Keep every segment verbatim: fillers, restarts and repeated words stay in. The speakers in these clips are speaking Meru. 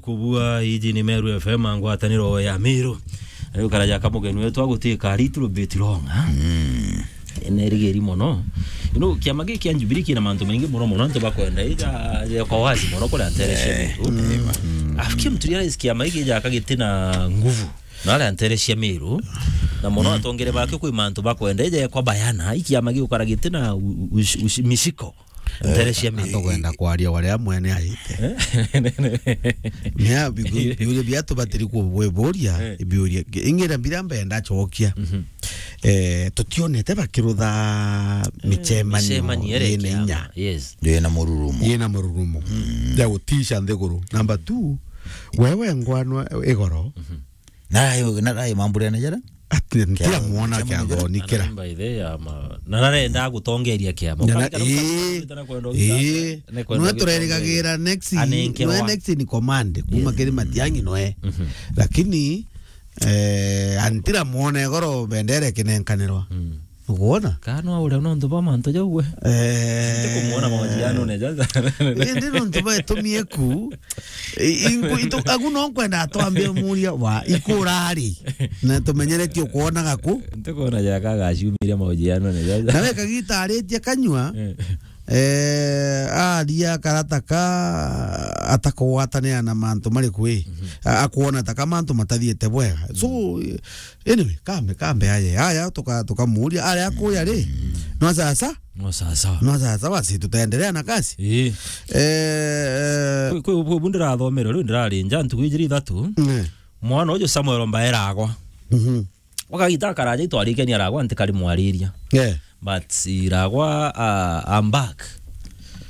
Kubua iji ni Meru F M, ngwataniro ya Meru. Riu karaja ka mugeni wetu agutwika a little bit long, ha? Mm. Nerigeri mono. You know, kiama giki kia Jubilee kina mantu maingi mono mono, antu bakwenda ija, ija kwa wazi mono kuria ntere cia Meru. Mm. Afikia mtu realize kiama giki ja kagiti na nguvu. Na aria ntere cia Meru. Na mono atongere bake kwi mantu bakwenda ija kwa bayana, i kiama gikukara giti na u-, u-, ush-, ush-, mishiko. Ntere cia Meru. Atokwenda kwaria waria mwene aite. Mea biuria bia tubatiri kuburia, biuria. Ingira mbira mbenda chokia. Eh, tutionete bakirutha michemanio michemanio ere ina kiama. Yes. Yena mururumo. Yena mururumo. Ya gutisha nthiguru. Number two, wewe ngwanwa igoro. Na rai, na rai mambure na jara? Ati ntia muona kia ngoni kira. By the way, ama, na narenda gutongeria kiama. Na, na, Ukarikana ii, ukarikana kwenda ii. Ugitongeria. Nwe turerigagira next, anenkerwa. Nwe next ni command. Kuma kiri Matiang'i nwe. Lakini, eh, antira muone goro bendere kinenkanirwa. Ukwona? Kana no uria nontu bwa mantu jau we. Eh. Ntikumuona mahojiano ne jaja. Indi nontu bwa itumie ku, I-, inku-, itu-, agu no nkwenda twambe muria wa ikurari. Na tumenyeretie ukwonaga ku. Ntikona jaka gaciumiria mahojiano ne jaja. Na we kagita aritie kanyua, eh, aria karata ka atakugwatanira na mantu mari kwi. A-, akwona ta ka mantu matathiete bwega. So, anyway, kambe, kambe aye. Aya, tuka-, tukamuria, aria akuya ri? No sasa? No sasa. No sasa, basi, tutaendelea na kazi. Ii. Eh, kwi, kwi, kwi, bu ndirathomere, riu ndirarinja, ntuku ijiri ithatu. Mwana uju Samuel Mbae Iragwa. Wakagita akaraja itwarikenia Iragwa, ntikari mwariria. Yeah. But Iragwa, uh, I'm back.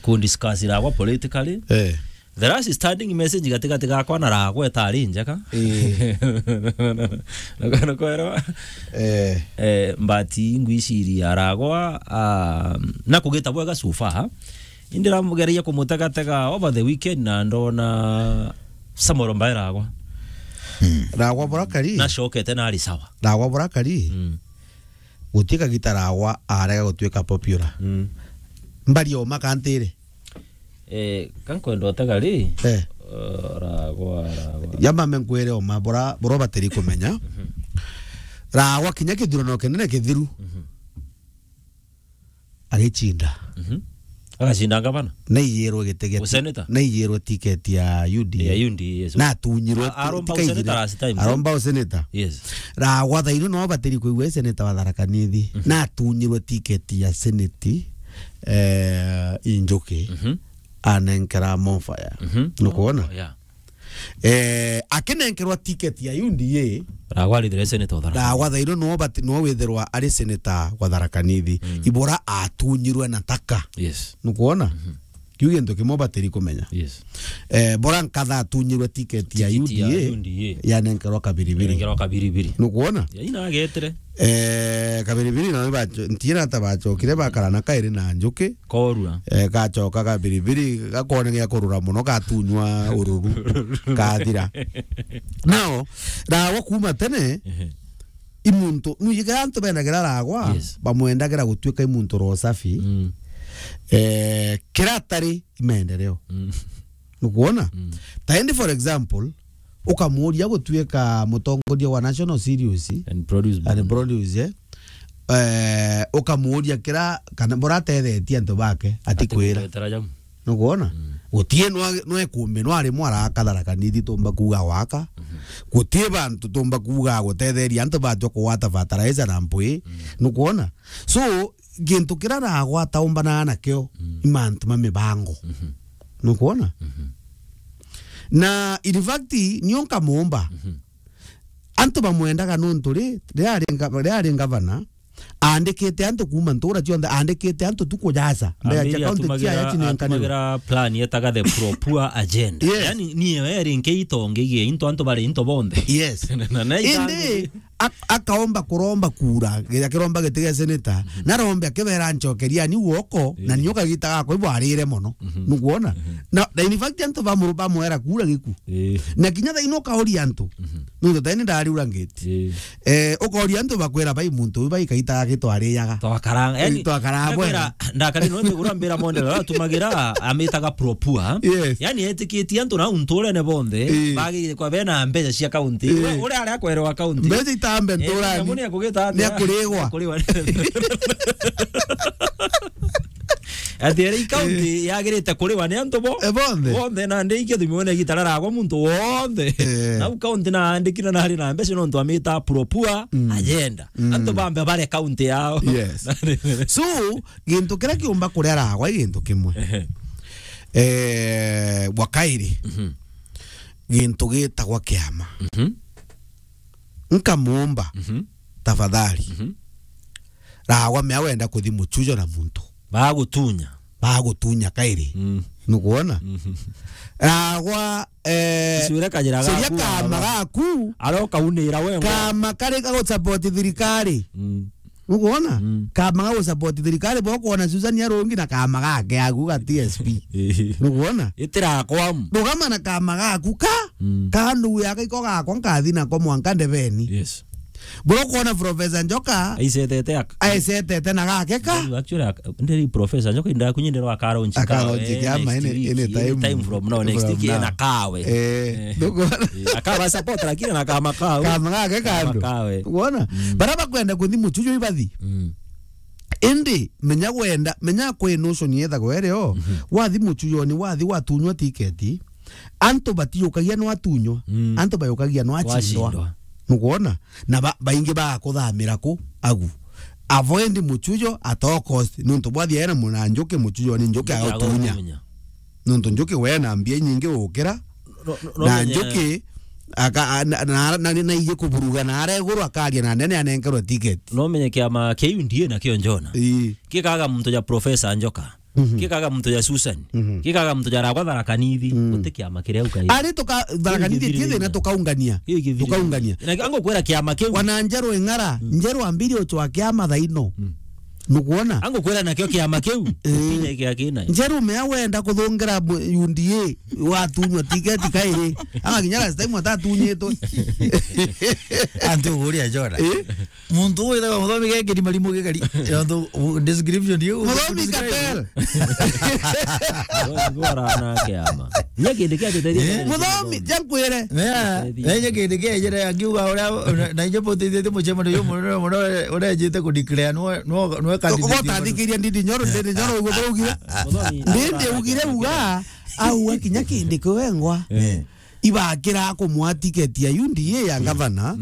Ku discuss Iragwa politically. Eh. The last standing message gatigati gakwa na Iragwa itari njega. Ii. Nukwerewa? Eh. Eh, but ingwiciria Iragwa, ah, na kugita bwega so far. Indi ramugereria kumutegatega over the weekend na ndona Samuel Mbae Iragwa. Iragwa burakari. Nacokete na ari sawa. Iragwa burakari. Guti kagita Iragwa arega gutuika popular. Mbari oma kantire. Eh, ka nkwenda utega ri? Eh. Eh, Iragwa, Iragwa. Yamame nkwire oma bura, bura batiri kumenya. Iragwa kinya kithurano kinene kithiru. Agichinda. Agacinda ngavana? Naiyirwe giti gia ti-, naiyirwe tiketi ya U D A. Ya U D A, yes. Na atunyirwe ti-, aromba useneta last time. Aromba useneta. Yes. Iragwa thaino no batiri kwigua seneta wa Tharaka Nithi. Na atunyirwe tiketi ya seneti, eh, Injuki. Anenkera Mofaya. Nukwona? Oh, yeah. Eh, akinenkerwa ticket ya U D A. Iragwa arithire senator wa Tharaka. Iragwa thaino no bati-, no withirwa ari senator wa Tharaka Nithi. Ibura atunyirwe na taka. Yes. Nukwona? Kiu gintu kimwe batiri kumenya. Yes. Eh, bora nkatha atunyirwe ticket ya U D A, yanenkerwa Kabiribiri. Yanenkerwa Kabiribiri. Nukwona? Ya ina agetere. Eh, Kabiribiri na bacho-, ntiena ta bachokire bakara na kairi na Njuki. Korua. Eh, gachoka Kabiribiri, gakone gia kurura muno, gatunywa ururu, gathira. Now, Iragwa kuma tene, i muntu, nujiga antu bendagira Iragwa, yes, bamwendagira gutuika i muntu ro safi. Eh, kira atari i maendeleo. Nukwona? Ta indi, for example, ukamuria gutuika mutongoria wa National Cereals and Produce, and Board. Produce, eh? Eh, ukamuria kira kana buratethetie antu bake, atikwira. Atikwira jau. Nukwona? Gutie nwa-, nwekumbi, nwarimwe araka Tharaka Nithi tumba kuuga gwaka. Gutie bantu tumba kuuga gutetheria antu bajwa kugwata fertilizer na mpwi. Nukwona? So, gintu kiria Iragwa ataumbanaga nakio, i mantu ma mibango. Nukwona? Na in fact, nio nkamuumba. Antu bamwendaga nontu ri, riria ari nga-, riria ari ngavana, aandikite antu kuuma ntura cionthe, aandikite antu tu kujaca. Mbeca cia kaunti cia ya chinenkanirwe. Atumagira plan yetaga the pro poor agenda. Yes. Yani, ni we rinke itonge igie into antu bari into bonthe. Yes. Na, na indi, ak-, akaomba kuromba kura, akiromba giti gia senator, narombe akibera, "Ncokeriani guoko, na nio kagita gakwa ibwarire mono." Nukwona? Na, na in fact, antu bamuru-, bamwera kura giku. Ii. Na kinya thaino ukauria antu. Nuntu thaini ndariura ngiti. Ii. Eh, ukauria antu bakwira, "Bai muntu uyu bai kaita gake twariaga." Twakaranga, yani, twakaranga bwega. Nakwira, ndakari no migura mbira monde, ratumagira, amitaga propua. Yes. Yani, etikitie antu na unturene bonthe, ii, bagire kwa bena mbeca cia county. Ii. Ure, ure aria akwerewa county. Mbeca itambe nturani. Ii, ni akugita atia? Ni akurigwa. Ni akurigwa. Ati ere i county yagirite kuriwa ni antu bo. E, bonthe. Bonthe, na ndi ikio thimone gitara ragwa muntu wonthe. Eh. Nau county na andikire na ari na mbeca nontu amita propua agenda. Antu bambe bare county yao. Yes. So, gintu kiria kiumba kuria ragwa i gintu kimwe. Ehe. Eh, bwa kairi. Gintu gitagwa kiama. Nkamumba, tafadhali. Ragwa mea wenda kuthi muchujo na muntu. Bagutunya. Bagutunya kairi. Nukwona? Ragwa, eh, Cure kajira gaku, kama gaku. Aroka unira we ngo. Kama kari ga gusupport thirikari. Nukwona? Kama ga gusupport thirikari, bo kwona Susan Arungi na kama gake agu ga T S P. Nukwona? Itira kwamu. Rugama na kama gaku ka. Ka ndugu yake iko gakwa nkathi nako mwanka ndebeni. Yes. Bro, kwona Professor Njoka aisetete aka. Aisetete na gake ka. Actually, ak-, ndiri Professor Njoka inda kunye ndero akaronchi ka. Akaronchi kiama any, any time from now, next week na kawe. Eh, ndukona? Eh, akaba support lakini na kama kawe. Kama gake kando. Kama kawe. Uona? Bara bakwenda kuthi muchujo ibathi. Indi menya gwenda, menya kwi notion yethagwo irio, wathi muchujoni, wathi watunywa tiketi, antu batiukagia no atunywa, antu bayukagia no achindwa. Wachindwa. Nukwona? Na ba-, baingi bagakuthamira ku agu. Avoid muchujo at all cost. Nuntu bwathi ena muna njuki, muchujoni njuki agatunya. Njuki agatunya. Nuntu njuki we na mbia inyingi gukira. No, no, no, na njuki aka-, a-, na, na, na, na, naiji kuburuga na aria iguru akaria na nene anenkerwe ticket. No menye kiama kia U D A nakio Njona. Ii. Kikaga muntu ja Professor Njoka. Kikaga muntu ja Susan. Kikaga muntu ja Ragwa Tharaka Nithi. Guti kiama kiria ukai. Ari tuka-, Tharaka Nithi ti thina, tukaungania. Tukaungania. Na ango kwera kiama kiu. Wana Njeru Ing'ara, Njeru ambiri uchwa kiama thaino. Nukwona? Angukwira nakio kiama kiu, eh, kinya kia kina. Njeru mea wenda kuthungira bu-, U D A, watunywa tiketi kairi. Ama kinya last time atatunyitwe. Antu uguria Jona. Eh? Muntu uyu witagwa Muthomi gekiri marimu gikari. Yontu, u-, description yu. Muthomi Cartel. Ndwara na kiama. Nya kindi kia tuteithia. Eh? Muthomi, jankwire. Mea, nya kindi kia jere akiuga uria, na, na inje bote itete mucemano yu munene muno urejite ku declare nwe, nwe, nwe candidate. Ugotathikiria Ndindi Nyoro, Ndindi Nyoro uguthurugire. Muthomi. Ndindi ugire uga, au akinya kindi kiwengwa. Eh. Ibakira kumwa tiketi ya U D A ya gavana,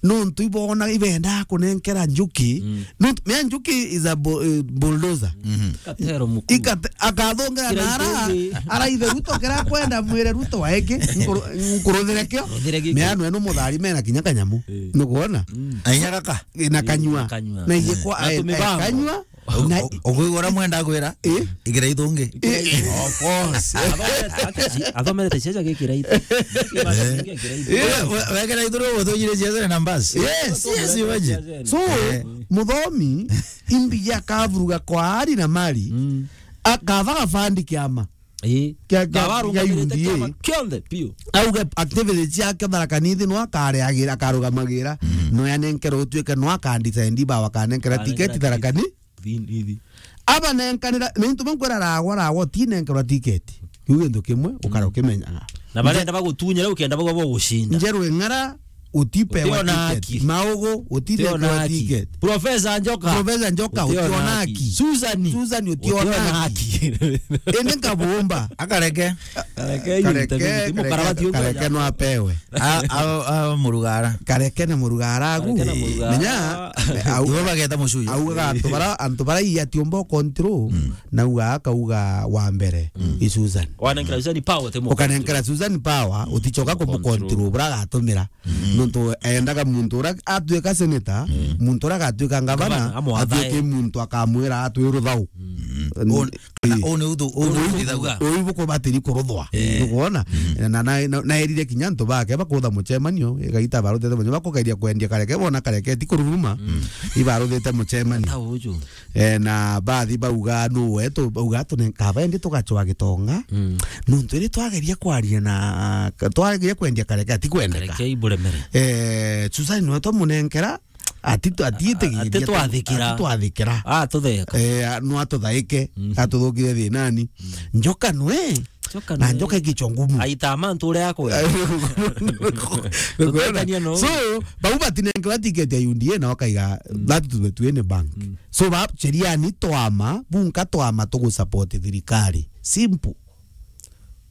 nuntu ibona ibendaa kunenkera Njuki. Nuntu, mea Njuki is a bu-, eh, bulldozer. Katero mukuu. Ikate-, akathongera na ara, araithe Ruto kira kwenda mwire Ruto waeke, nkuru-, nkuruthire kio. Ruthire giki. Mea nwe no muthari mena kinya kanyamu. Eh. Nukwona? Ainya gaka. Na kanyua. Kanyua. Na iye kwa, na eh, tumibango. Kanyua. Na u-, u-, ukwigua uria mwenda gwira? Eh? Igira ithungi. Eh. Of course. Athomete, athomete ciaca gikira ithu. Eh. We-, we-, wekira ithu rio uthujire ciaca na mbasi. Yes, yes, imagine. So, eh, Muthomi, imbi ya kavuruga kwa ari na mali, akava gabandi kiama. Ii. Kia, kia, kia U D A. Kiama kionthe, piu. Auge activity ciake Tharaka Nithi no akareagira, akarugamagira, no anenkerwe utuike no akandecide ba wakanenkera tiketi Tharaka Ni-, Nithi. Abanenkanira, ni ntu bankwira ragwa, ragwa, utinenkerwa tiketi. Kiu gintu kimwe, ukara ukimenyaga. Na barenda bagutunyira, ukienda bagwa bogucinda. Njeru Ing'ara, utipewa tiketi. Maugu, utinekerwa tiketi. Professor Njoka. Professor Njoka, utiona haki. Susan. Susan, utiona haki. Indi nkabumba. Akareke. Kareke, kareke, kareke, kareke no apewe. A, a, a, murugara. Kareke na murugara agu. Kareke na murugara. Menya, au, ibo bageta mucuyo. Augaga antu bara, antu bara i atiumba control, na uga akauga wa mbere, i Susan. Wanenkera Susan power, te mu ukanenkera Susan power, utichoka kumu control, bura agatumira. Nontu endaga muntu uria atuika senator, muntu uria agatuika ngavana, amwathae. Atuike muntu akamwira atwi ruthau. Un-, kana ii. Uu ni uthu-, uu ni uthuga. Uu bukubatiri kuruthwa. Eh. Nukwona? Mm. Na, na, na, na erire kinya antu bake bakutha mucemanio, igaita barutete mucemanio, bakugeria kwendia kareke, bona kareke ti kururuma. Mm. Ibaruthite mucemanio. Ta uju. Eh, na bathi bauga, "Nu wetu?" Bauga, "Tune-, kaba indi tugacwa gitonga." Mm. Nuntu iri twageria kwaria na, twageria kwendia kareke, ati kwendeka. Kareke iburemere. Eh, Susan niwe twamunenkera, ati tu-, ati itigiria, ati twathikira. Ati twathikira. Ah, tutheka. Eh, a-, no atuthaike, mm, atuthukire thinani. Mm. Njoka nwe. Njoka na nwe. Njoka ikichwa ngumu. Aita mantu uria akwe. Tutetania no. So, bau batinenkerwa ticket ya U D A na wakaiga, mm, that to the, to any bank. Mm. So, ba, sheria ni twama, bunka twama tugusupport thirikari. Simple.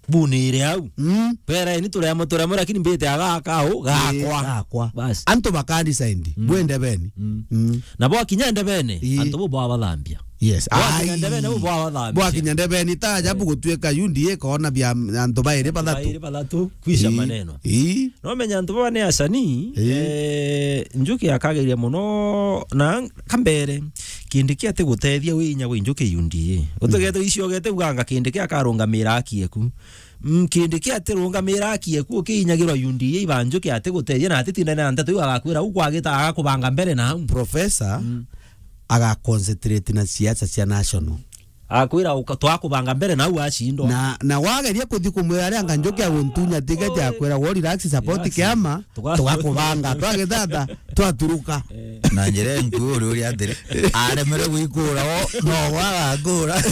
Bunire au. Mm. Bera ni turemo, turemo, lakini mbite aga akau, ii, gakwa. Gakwa. Basi. Antu bakani saindi. Mm. Bwende beni. Mm. Mm. Na bwakinya ndebene, ii, antu bo bwabathambia. Yes. Bwakinya ndebene, bo bwabathambia. Bwakinya ndebeni, ta ajabu, eh, gutuika U D A ikona bia antu bairi bathatu. Bairi bathatu, kwisha, ii, maneno. Ii. No menya antu baba ni acani, ii, eh, Njuki akageria muno na kambere. Kindiki atigutethia wi inya wi Njuki U D A. Utigete, mm, icio gete uganga Kindiki akarungamira aki eku. Mm, Kindiki atirungamira aki eku, ukiinyagirwa U D A iba Njuki atigutethia na atitindane na nteto iu, agakwira u kwagita, agakubanga mbere na au. Professor, mm, aga concentrate na siasa cia national. Akwira uka-, twakubanga mbere na au acindwa. Na, na wageria kuthi kumwira aria anga Njuki aguntunya ticket, akwira, "Wo relax, support, relax, kiama, tuga-, tugakubanga, twagithata, twaturuka." Eh. Na njira enku uri uri atiri, aremere gwikura o, no gwagakura.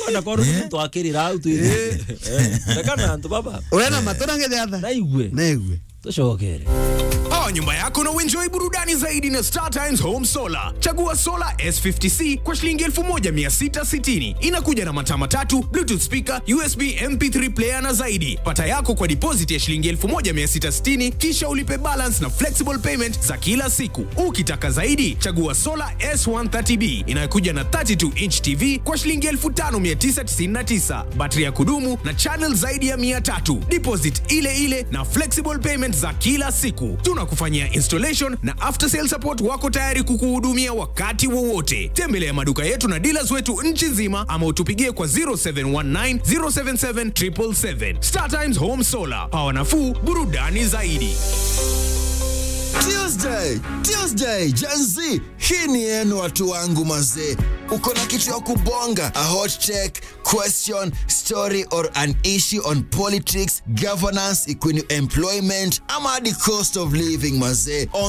Ona korwo, eh, muntu akirira au tu. Eh. Eh, reka na antu baba. Wena, eh, matu na ngithiatha. Naigue. Naigue. Tucokere. Power nyumba yako na uenjoy burudani zaidi na Star Times Home Solar. Chagua Solar S fifty C kwa shilingi elfu moja mia sita sitini. Inakuja na mataa matatu, Bluetooth speaker, U S B M P three player na zaidi. Pata yako kwa deposit ya shilingi elfu moja mia sita sitini, kisha ulipe balance na flexible payment za kila siku. Ukitaka zaidi, chagua Solar S one thirty B inayokuja na thirty-two inch T V kwa shilingi elfu tano mia tisa tisini na tisa. Battery ya kudumu na channel zaidi ya mia tatu. Deposit ile ile na flexible payment za kila siku. Tunakufanyia installation na after sale support, wako tayari kukuhudumia wakati wowote. Tembelea maduka yetu na dealers wetu nchi nzima ama utupigie kwa zero seven one nine, zero seven seven, triple seven. Star Times Home Solar. Power nafuu, burudani zaidi. Tuesday, Tuesday, Gen Z. Hii ni yenu watu wangu mazee. Uko na kitu ya kubonga? A hot take, question, story or an issue on politics, governance, ikuni employment, ama the cost of living mazee. On